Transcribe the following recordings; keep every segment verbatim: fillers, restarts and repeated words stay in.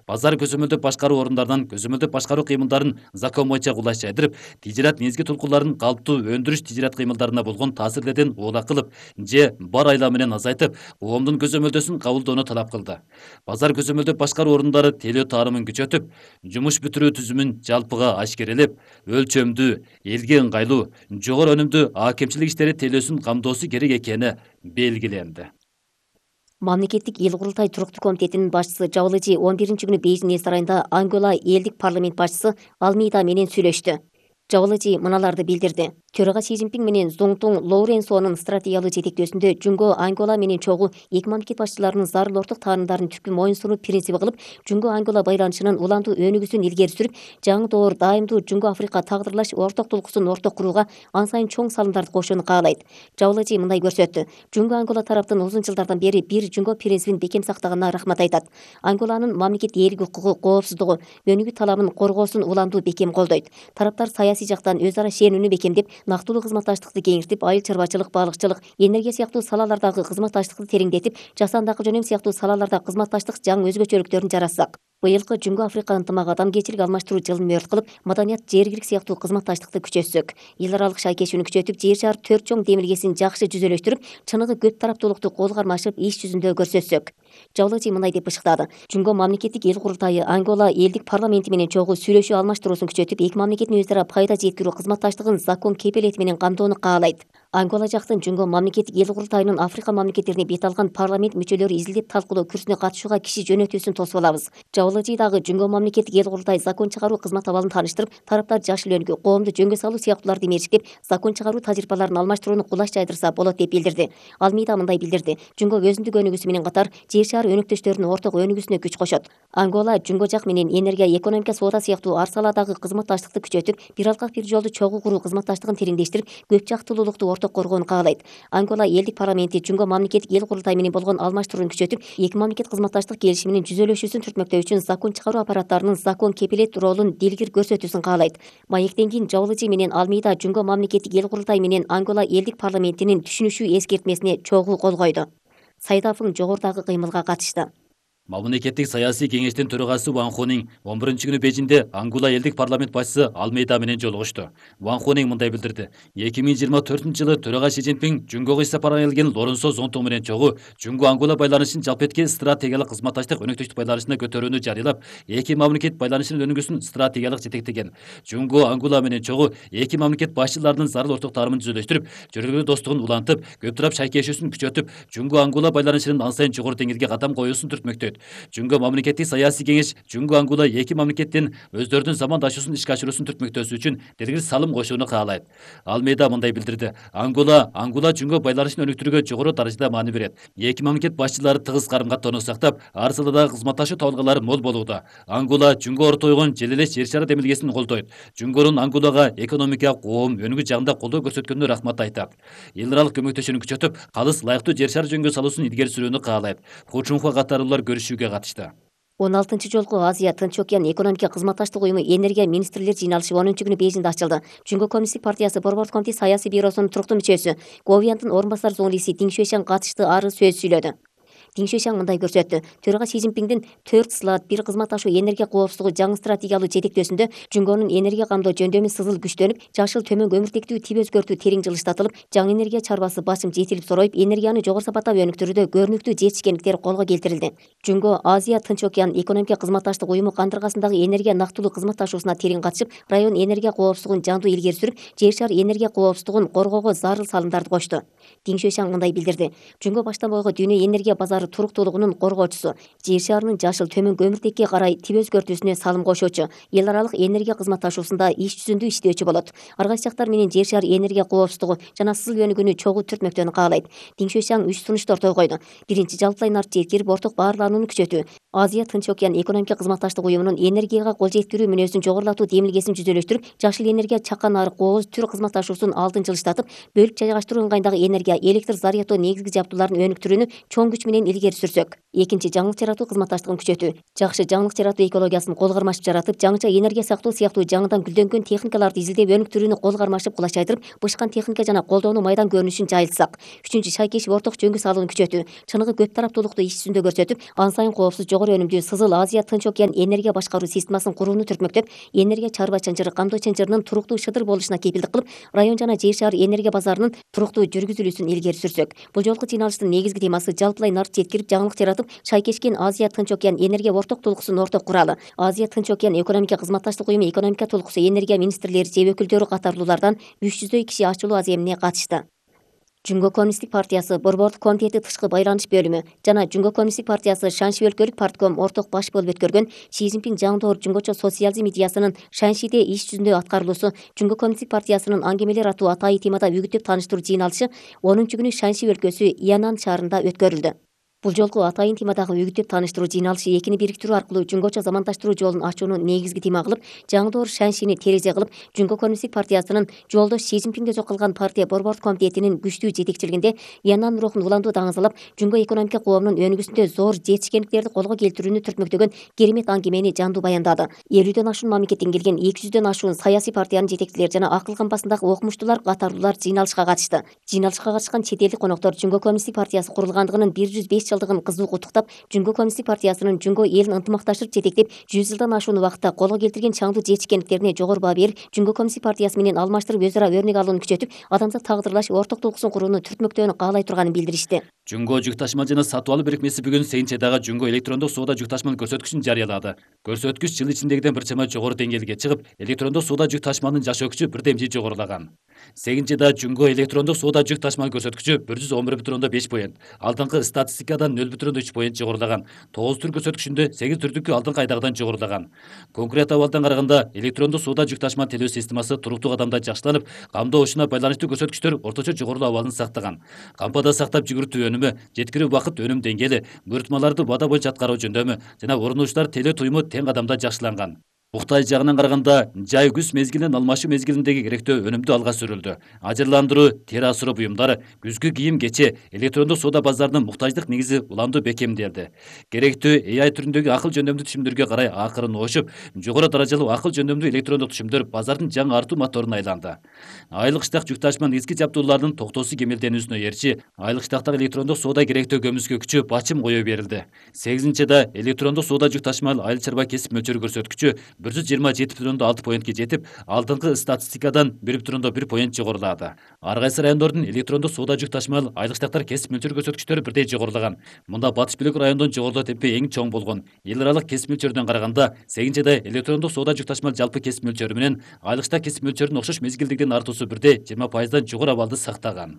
Базар көзөмөлдөп башкаруу орундарынан көзөмөлдөп башкаруу кыймылдарын закон боюнча кулайчайдырып, тижират негизги тулкуларын калыптуу өндүрүш тижират кыймылдарына болгон таасирлерден уулак кылып же бар айла менен азайтып, коомдун көзөмөлдөсүн кабылдоону талап кылды. Базар көзөмөлдөп башкаруу орундары тейлөө таарымын күчөтүп, жумуш бүтүрүү түзүмүн жалпыга ашкерелеп, өлчөмдүү, элге ыңгайлуу, жогору өнүмдүү аакемчилик иштери тейлөөсүн камдоосу керек экени белгиленди. Мамлекеттик эл курултай туруктуу комитетинин башчысы Жабылыжи он биринчи күнү Бейжиң эс сарайында Ангола элдик парламент башчысы Алмейда менен сүйлөштү. Жабылыжи мыналарды билдирди. Төрага Си Цзиньпин менен Зоңтуң Лоуренсонун стратегиялык жетектөөсүндө Жунго Ангола менен чогуу эки мамлекет башчыларынын зарыл орток таанымдарын түпкү моюн сунуу принциби кылып, Жунго Ангола байланышынын уламдуу өнүгүүсүн илгери сүрүп, жаңы доор дайымдуу Жунго Африка тагдырлаш орток тулкусун орток курууга ан сайын чоң салымдарды кошууну каалайт. Жабылыжи мындай көрсөттү. Жунго Ангола тараптын узун жылдардан бери бир Жунго принцибин бекем сактаганына рахмат айтат. Анголанын мамлекет ээлик укугу, коопсуздугу, өнүгүү талабын коргоосун уламдуу бекем колдойт. Тараптар саясий жактан өз ара ишенүүнү бекемдеп, нактылуу кызматташтыкты кеңиртип, айыл чарбачылык, балыкчылык, энергия сыяктуу салалардагы кызматташтыкты тереңдетип, жасандакы жөнөм сыяктуу салаларда кызматташтык жаңы өзгөчөлүктөрүн жаратсак. Быйылкы Жунго Африка ынтымак адамгерчилик алмаштыруу жылын мөөрт кылып, маданият, жергилик сыяктуу кызматташтыкты күчөтсөк, эл аралык шайкешүүнү күчөтүп, жер шаар төрт чоң демилгесин жакшы жүзөлөштүрүп, чыныгы көп тараптуулукту кол кармашып, иш жүзүндө көрсөтсөк. Жабылыжи мындай деп бышыктады. Жунго мамлекеттик эл курултайы Ангола элдик парламенти менен чогуу сүйлөшүү алмаштыруусун күчөтүп, эки мамлекеттин өз ара пайда жеткирүү кызматташтыгын закон кепилети менен камдоону каалайт. Ангола жактын Жунго мамлекеттик эл курултайынын Африка мамлекеттерине бет алган парламент мүчөлөрү изилдеп талкуулоо күрсүнө катышууга киши жөнөтүүсүн тосуп алабыз. Жабылыжи дагы Жунго мамлекеттик эл курултай закон чыгаруу кызмат абалын тааныштырып, тараптар жашыл өнүгүү, коомду жөнгө салуу сыяктууларды мерчиктеп, закон чыгаруу тажрыйбаларын алмаштырууну кулаш жайдырса болот деп билдирди. Алмейда мындай билдирди. Жунго өзүндүк өнүгүүсү менен катар жер шаар өнөктөштөрүнүн орток өнүгүүсүнө күч кошот. Ангола Жунго жак менен энергия, экономика, соода сыяктуу ар саладагы кызматташтыкты күчөтүп, бир алкак бир жолду чогуу куруу кызматташтыгын тереңдештирип, көп жактылуулукту орток коргоону каалайт. Ангола элдик парламенти Жунго мамлекеттик эл курултай менен болгон алмаштырууну күчөтүп, эки мамлекет кызматташтык келишиминин жүзөлөшүүсүн түртмөктөө үчүн закон чыгаруу аппараттарынын закон кепилет ролун дилгир көрсөтүүсүн каалайт. Маектен кийин Жабылыжи менен Алмейда Жунго мамлекеттик эл курултай менен Ангола элдик парламентинин түшүнүшүү эскертмесине чогуу кол койду. Сайдафың жогорудагы кыймылга катышты. Мамлекеттик саясий кеңештин төрагасы Ван Хонинг он биринчи күнү Бейжиңде Ангола элдик парламент башчысы Алмейда менен жолугушту. Ван Хонинг мындай билдирди. эки миң жыйырма төртүнчү жылы төрага Си Цзиньпин Жунгого иш сапарына келген Лоренсо Зоңтуң менен чогуу Жунго Ангола байланышын жалпы эткен стратегиялык кызматташтык өнөктөштүк байланышына көтөрүүнү жарыялап, эки мамлекет байланышынын өнүгүүсүн стратегиялык жетектеген. Жунго Ангола менен чогуу эки мамлекет башчыларынын зарыл орток таанымын жүзөлөштүрүп, жөргөлүү достугун улантып, көп тарап шайкешүүсүн күчөтүп, Жунго Ангола байланышынын ан сайын жогору деңгээлге кадам коюусун түртмөктөйт. Жунго мамлекеттик саясий кеңеш Жунго Ангола эки мамлекеттин өздөрүнүн замандашуусун ишке ашыруусун түртмөктөөсү үчүн дергиз салым кошууну каалайт. Алмейда мындай билдирди. Ангола Ангола Жунго байланышын өнүктүрүүгө жогору даражада маани берет. Эки мамлекет башчылары тыгыз карым-каттоону сактап, ар саладагы кызматташуу табылгалары мол болууда. Ангола Жунго ортойгон жел элес жер шары демилгесин колдойт. Жунгонун Анголага экономика, коом, өнүгүү жагында колдоо көрсөткөнүнө рахмат айтат. Эл аралык көмөктөшүүнү күчөтүп, калыс лайыктуу жер шары жөнгө салуусун илгери сүрүүнү каалайт. Хучунхуа катарлуулар көрүшүүгө катышты. он алтынчы жолку Азия Тынч океан экономика кызматташтык уюму энергия министрлер жыйналышы онунчу күнү Бейжиңде ачылды. Жунго коммунисттик партиясы борбордук комитет саясий бюросунун туруктуу мүчөсү Говиандын орун басар зоңлиси Дин Шуэшан катышты ары сөз сүйлөдү. Дин Шуэшан мындай көрсөттү. Төрага Си Цзиньпиндин төрт слот бир кызматташуу энергия коопсуздугу жаңы стратегиялык жетектөөсүндө Жунгонун энергия камдоо жөндөмү сызыл күчтөнүп, жашыл төмөн көмүртектүү тип өзгөртүү терең жылыштатылып, жаңы энергия чарбасы башым жетилип сороюп, энергияны жогору сапаттап өнүктүрүүдө көрүнүктүү жетишкендиктер колго келтирилди. Жунго Азия Тынч океан экономика кызматташтык уюму кандыргасындагы энергия нактылуу кызматташуусуна терең катышып, район энергия коопсуздугун жандуу илгери сүрүп, жер шаар энергия коопсуздугун коргоого зарыл салымдарды кошту. Дин Шуэшан мындай билдирди. Жунго баштан бойго дүйнө энергия базары туруктуулугунун коргоочусу, жер шаарынын жашыл төмөн көмүртекке карай тип өзгөртүүсүнө салым кошуучу, эл аралык энергия кызматташуусунда иш жүзүндө иштөөчү болот. Ар кайсы жактар менен жер шаар энергия коопсуздугу жана сызыл өнүгүүнү чогуу түртмөктөөнү каалайт. Дин Шуэшан үч сунушту ортого койду. Биринчи, жалпылай нарт жеткирип, орток баарланууну күчөтүү. Азия Тынч океан экономика кызматташтык уюмунун энергияга кол жеткирүү мүнөзүн жогорулатуу демилгесин жүзөлөштүрүп, жашыл энергия чакан нарык кооз түр кызматташуусунун алдын жылыштатып, бөлүк жайгаштыруу ыңгайындагы энергия, электр зарядоо негизги жабдууларын өнүктүрүүнү чоң күч менен илгери сүрсөк, экинчи жаңылык жаратуу кызматташтыгын күчөтүү, жакшы жаңылык жаратуу экологиясын кол кармашып жаратып, жаңыча энергия сактоо сыяктуу жаңыдан гүлдөнгөн техникаларды изилдеп, өнүктүрүүнү кол кармашып кулачайдырып, бышкан техника жана колдоону майдан көрүнүшүн жайылтсак. Үчүнчү шайкешип орток жөнгө салууну күчөтүү, чыныгы көп тараптуулукту иш жүзүндө көрсөтүп, ан сайын коопсуз, жогору өнүмдүү Сызыл Азия Тынч океан энергия башкаруу системасын курууну түртмөктөп, энергия чарба чанжыры, камдоо чанжырынын туруктуу шыдыр болушуна кепилдик кылып, район жана жер шаар энергия базарынын туруктуу жүргүзүлүүсүн илгери сүрсөк. Бул жолку жыйналыштын негизги темасы жалпылай нарт жеткирип, жаңылык жаратып, шайкешкен Азия Тынч океан энергия орток толкусун орток куралы. Азия Тынч океан экономика кызматташтык уюму экономика толкусу энергия министрлери же өкүлдөрү катарлуулардан үч жүздөй киши ачылуу аземине катышты. Жүнгө коммунисттик партиясы борбордук комитети тышкы байланыш бөлүмү жана Жүнгө коммунисттик партиясы Шанши өлкөлүк партком орток баш болуп өткөргөн Си Цзиньпин жаңдоор жүнгөчө социализм идеясынын Шаншиде иш жүзүндө аткарылуусу Жүнгө коммунисттик партиясынын аңгемелер аттуу атайы темада үгүттөп тааныштыруу жыйналышы онунчу күнү Шанши өлкөсү Янан шаарында өткөрүлдү. Бул жолку атайын темадагы үгүттөп тааныштыруу жыйналышы экини бириктирүү аркылуу жүнгөчө замандаштыруу жолун ачууну негизги тема кылып, жаңдоор Шаншини терезе кылып, Жүнгө коммунисттик партиясынын жолдош Си Цзиньпинге жокулган партия борбордук комитетинин күчтүү жетекчилигинде Янан рухун уландуу даңазалап, жүнгө экономика коомунун өнүгүүсүндө зор жетишкендиктерди колго келтирүүнү түртмөктөгөн керемет аңгемени жандуу баяндады. элүүдөн ашуун мамлекеттен келген эки жүздөн ашуун саясий партиянын жетекчилери жана акыл кампасындагы окумуштуулар катарлуулар жыйналышка катышты. Жыйналышка катышкан чет элдик коноктор Жүнгө коммунисттик партиясы курулгандыгынын бир жүз беш жылдыгын кызуу куттуктап, Жүнгө коммунисттик партиясынын жүнгө элин ынтымакташып жетектеп, жүз жылдан ашуун убакытта колго келтирген чаңдуу жетишкендиктерине жогору баа берип, Жүнгө коммунисттик партиясы менен алмаштырып өз ара өрнөк алууну күчөтүп, адамзат тагдырлаш орток толкусун курууну түртмөктөөнү каалай турганын билдиришти. Жүнгө жүк ташмал жана сатып алуу бирикмеси бүгүн Сейинчедагы жүнгө электрондук соода жүк ташмал көрсөткүчүн жарыялады. Көрсөткүч жыл ичиндегиден бир чама жогору деңгээлге чыгып, электрондук соода жүк ташмалынын жаш өкүчү бир демчи жогорулаган. Сейинчеда жүнгө электрондук соода жүк ташмал көрсөткүчү бир жүз он бир бүтүн ондон беш поинт, алдыңкы статистикадан нөл бүтүн ондон үч поинт жогорулаган. тогуз түр көрсөткүчүндө сегиз түрдүккү алдыңкы айдагыдан жогорулаган. Конкрет абалдан караганда электрондук соода жүк ташмал төлөө системасы туруктуу кадамда жакшыланып, камдоо ушуна байланыштуу көрсөткүчтөр орточо жогорулуу абалын сактаган. Кампада сактап жүгүртүү өнүмү, жеткирүү убакыт өнүм деңгээли, буйртмаларды бада боюнча аткаруу жөндөмү жана орунуучулар телөө туюму тең кадамда жакшыланган. Муктай жагынан караганда, жай күз мезгилинен алмашуу мезгилиндеги керектөө өнүмдүү алга сүрүлдү. Ажырландыруу, тери асыроо буюмдары, күзгү кийим кече, электрондук соода базарынын муктаждык негизи уламдуу бекемделди. Керектүү A I түрүндөгү акыл жөндөмдүү түшүмдөргө карай акырын ошуп, жогору даражалуу акыл жөндөмдүү электрондук түшүмдөр базардын жаңы артуу моторуна айланды. Айлык штак жүк ташма негизги жабдуулардын токтоосу кемелденүүсүнө эрчи, айлык штактагы электрондук соода керектөө көмүскө күчү бачым кое берилди. сегизинчида электрондук соода жүк ташмал айыл чарба кесип мөлчөрү көрсөткүчү бир жүз жыйырма жети бүтүн ондон алты поинтке жетип, алдыңкы статистикадан бир бүтүн ондон бир поинт жогорулады. Ар кайсы райондордун электрондук соода жүк ташмал айлык штактар кесип мөлчөрү көрсөткүчтөрү бирдей жогорулаган. Мында батыш бөлүк райондон жогорулоо темпи эң чоң болгон. Эл аралык кесип мөлчөрүнөн караганда, сегизинчида электрондук соода жүк ташмал жалпы кесип мөлчөрү менен айлык штак кесип мөлчөрүнүн окшош мезгилдигинин артуусу бирдей жыйырма пайыздан жогору абалды сактаган.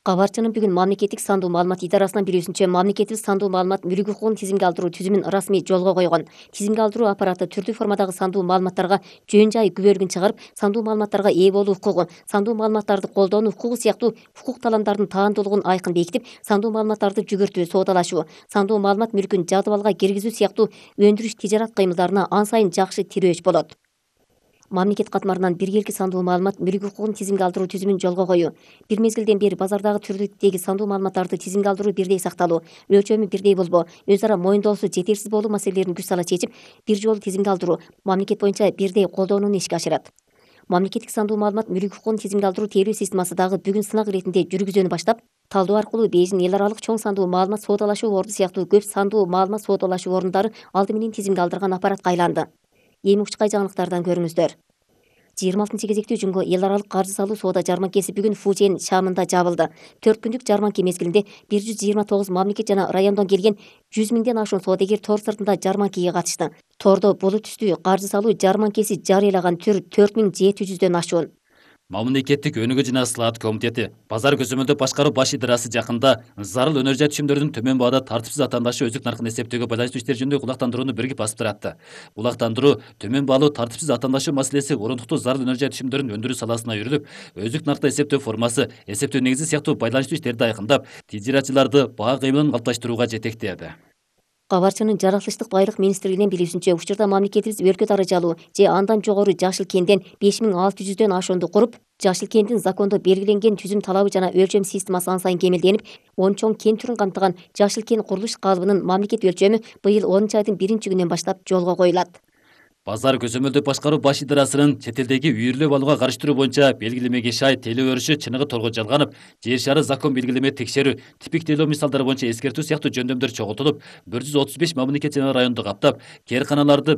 Кабарчынын бүгүн мамлекеттик сандуу маалымат идарасынан билүүсүнчө, мамлекетибиз сандуу маалымат мүлк укугун тизимге алдыруу түзүмүн расмий жолго койгон. Тизимге алдыруу аппараты түрдүү формадагы сандуу маалыматтарга жөн жай күбөлүгүн чыгарып, сандуу маалыматтарга ээ болуу укугу, сандуу маалыматтарды колдонуу укугу сыяктуу укук талаамдардын таандуулугун айкын бекитип, сандуу маалыматтарды жүгүртүү, соодалашуу, сандуу маалымат мүлкүн жадыбалга киргизүү сыяктуу өндүрүш тижарат кыймылдарына ан сайын жакшы тирөөч болот. Мамлекет катмарынан биргелки сандуу маалымат мүлк укугун тизимге алдыруу түзүмүн жолго коюу. Бир мезгилден бери базардагы түрдүктеги сандуу маалыматтарды тизимге алдыруу бирдей сакталуу, өлчөмү бирдей болбоо, өз ара моюндоосу жетерсиз болуу маселелерин күч сала чечип, бир жолу тизимге алдыруу, мамлекет боюнча бирдей колдонууну ишке ашырат. Мамлекеттик сандуу маалымат мүлк укугун тизимге алдыруу тейлөө системасы дагы бүгүн сынак иретинде жүргүзүүнү баштап, талдоо аркылуу Бейжин эл аралык чоң сандуу маалымат соодалашуу орду сыяктуу көп сандуу маалымат соодалашуу ордундары алды менен тизимге алдырган аппаратка айланды. Эми учкай жаңылыктардан көрүңүздөр. жыйырма алтынчы кезектүү жүнгө эл аралык каржы салуу соода жарманкеси бүгүн Фужен шаамында жабылды. төрт күндүк жарманке мезгилинде бир жүз жыйырма тогуз мамлекет жана райондон келген жүз миңден ашуун соодагер тор сыртында жарманкеге катышты. Тордо булут түстүү каржы салуу жарманкеси жарыялаган түр төрт миң жети жүздөн ашуун. Мамлекеттик өнүгүү жана ысылаат комитети базар көзөмөлдөө башкаруу баш идарасы жакында зарыл өнөр жай түшүмдөрдүн төмөн баада тартипсиз атаандашы өзүк наркын эсептөөгө байланыштуу иштер жөнүндө кулактандырууну биригип басып туратты. Кулактандыруу төмөн баалуу тартипсиз атаандашуу маселеси орундуктуу зарыл өнөр жай түшүмдөрүн өндүрүү саласына үйрүлүп, өзүк наркты эсептөө формасы, эсептөө негизи сыяктуу байланыштуу иштерди айкындап, тижаратчыларды баа кыймылын калыпташтырууга жетектеди. Кабарчынын жаратылыштык байлык министрлигинен билүүсүнчө, учурда мамлекетибиз өлкө даражалуу же андан жогору жашыл кенден беш миң алты жүздөн ашуунду куруп, Жашыл кенттин закондо белгиленген түзүм талабы жана өлчөм системасы ан сайын кемелденип, он чоң кен түрүн камтыган жашыл кен курулуш калыбынын мамлекет өлчөмү быйыл онунчу айдын биринчи күнүнөн баштап жолго коюлат. Базар көзөмөлдөп башкаруу баш идарасынын чет элдеги үйүрлөп алууга карыштыруу боюнча белгилемеге шай теле өрүшү Чыныгы Торгон Жалганов жер шары закон белгилеме текшерүү, типиктелөө мисалдары боюнча эскертүү сыяктуу жөндөмдөр чогултулуп, бир жүз отуз беш мамлекет жана районду каптап, кээрканаларды